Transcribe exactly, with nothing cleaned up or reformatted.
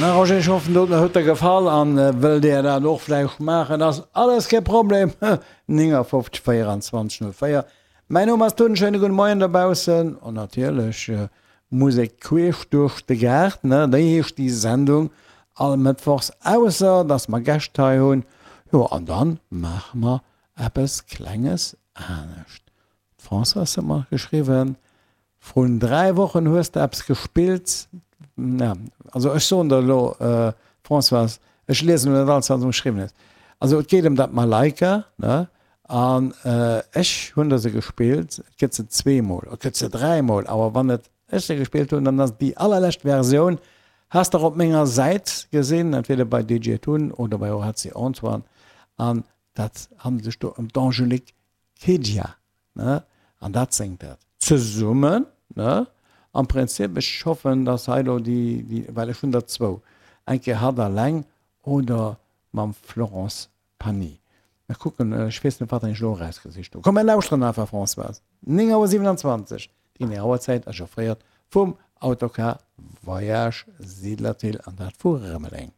Na Roger, ech hoffen doten huet der gefall an wëllt dir dat och vläicht maachen, ass alles kee Problem. neunundfünfzig vierundzwanzig null vier. Mäin Numm ass Tun, schéine gudde Moien dobaussen an natierlech Musek queesch duerch de Gaart, ne, déi heescht déi Sendung all Mëttwochs, ausser dass mer Gäscht hei hunn. Jo, an dann maache mer eppes Klenges anescht. D'Françoise huet mer geschriwwen, Vrun dräi Wochen hues de eppes gespillt. Ja, also ech soen der elo, Françoise, ech liesen elo net alles, wat s de mer geschriwwen hues. Also et geet ëm dat Malaika, ne? An ech hunn der se gespillt, et gëtt se zweemol, et gëtt se dräimol, awer wann et ech se gespillt hunn, dann ass et déi allerlescht Versioun. Has der op menger Säit gesinn, entweder bei D J Tun oder bei Horazi Antoine. An dat handelt sech do ëm d'Angélique Kidja, ne? An dat séngt dat zesummen, ne? Am Prinzip, ech hoffen, dass hei elo déi, déi, well ech hunn der zwou, eng Kéier hatt alleng oder mam Florence Pagny. Mir kucken, ech weess net, wat ech elo erausgesicht hunn. Komm, mir lauschteren einfach, Françoise. Néng Auer siwenanzwanzeg, déi genee Auerzäit ass offréiert vum Autocar Voyage Siedlerthill, an dat vu Rëmeleng.